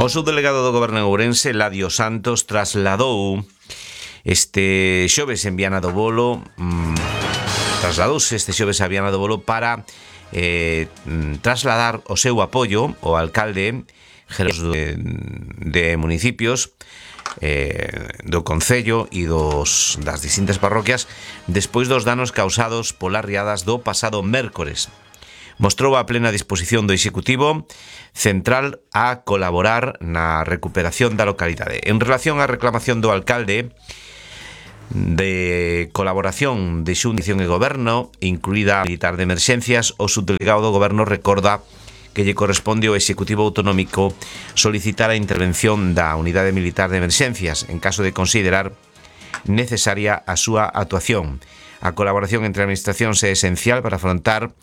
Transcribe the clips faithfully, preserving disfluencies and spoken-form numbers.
O subdelegado do Goberno en Ourense, Ladio Santos, trasladou este xoves en Viana do Bolo mmm, trasladouse este xoves a Viana do Bolo para eh, trasladar o seu apoio ao alcalde de, de municipios eh, do Concello e dos, das distintas parroquias despois dos danos causados polas riadas do pasado mércores. Mostrou a plena disposición do Executivo Central a colaborar na recuperación da localidade. En relación á reclamación do alcalde de colaboración de Xunta e Goberno, incluída a militar de emerxencias, o subdelegado do Goberno recorda que lle corresponde ao Executivo Autonómico solicitar a intervención da Unidade Militar de Emerxencias en caso de considerar necesaria a súa actuación. A colaboración entre administracións é esencial para afrontar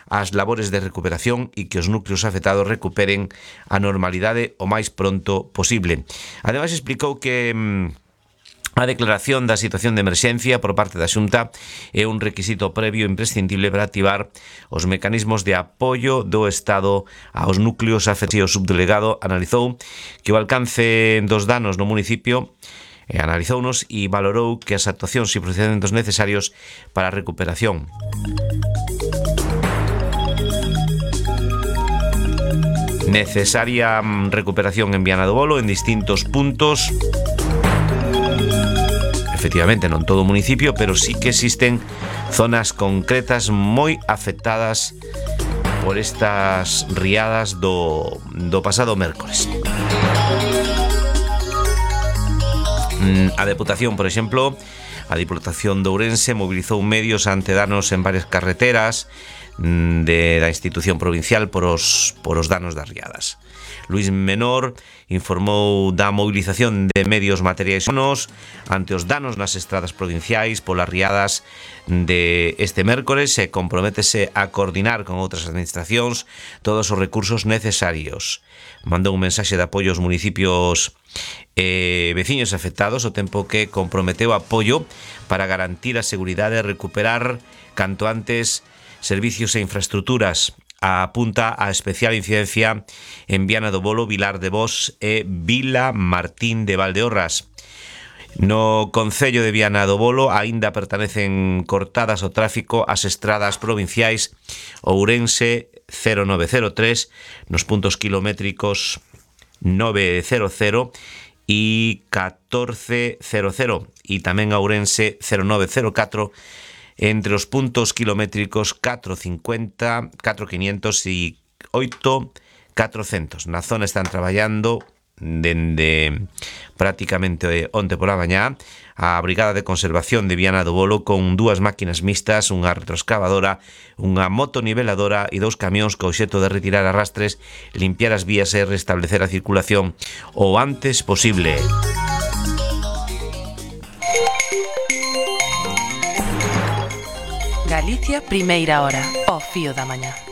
as labores de recuperación e que os núcleos afectados recuperen a normalidade o máis pronto posible. Ademais, explicou que mmm, a declaración da situación de emerxencia por parte da Xunta é un requisito previo imprescindible para activar os mecanismos de apoio do Estado aos núcleos afectados. O subdelegado analizou que o alcance dos danos no municipio e analizounos e valorou que as actuacións e procedimentos necesarios para a recuperación necesaria recuperación en Viana do Bolo en distintos puntos. Efectivamente, non todo o municipio, pero sí que existen zonas concretas moi afectadas por estas riadas do, do pasado mércores. A Deputación, por exemplo, a Diputación de Ourense mobilizou medios ante danos en varias carreteras de da institución provincial por os, por os danos das riadas. Luís Menor informou da mobilización de medios materiais humanos ante os danos nas estradas provinciais polas riadas de este mércores e comprométese a coordinar con outras administracións todos os recursos necesarios. Mandou un mensaxe de apoio aos municipios e veciños afectados, ao tempo que comprometeu apoio para garantir a seguridade e recuperar canto antes servicios e infraestructuras. Apunta a especial incidencia en Viana do Bolo, Vilar de Bos e Vila Martín de Valdeorras. No Concello de Viana do Bolo aínda pertenecen cortadas ao tráfico as estradas provinciais Ourense cero nove cero tres nos puntos kilométricos nove cero cero e catorce cero cero e tamén Ourense cero nove cero catro entre os puntos kilométricos catro cincuenta, catro quinientos e oito catrocentos. Na zona están traballando dende prácticamente onte pola mañá a Brigada de Conservación de Viana do Bolo con dúas máquinas mixtas, unha retroexcavadora, unha motoniveladora e dous camións co obxecto de retirar arrastres, limpiar as vías e restablecer a circulación o antes posible. Galicia, primeira hora, ao fío da mañá.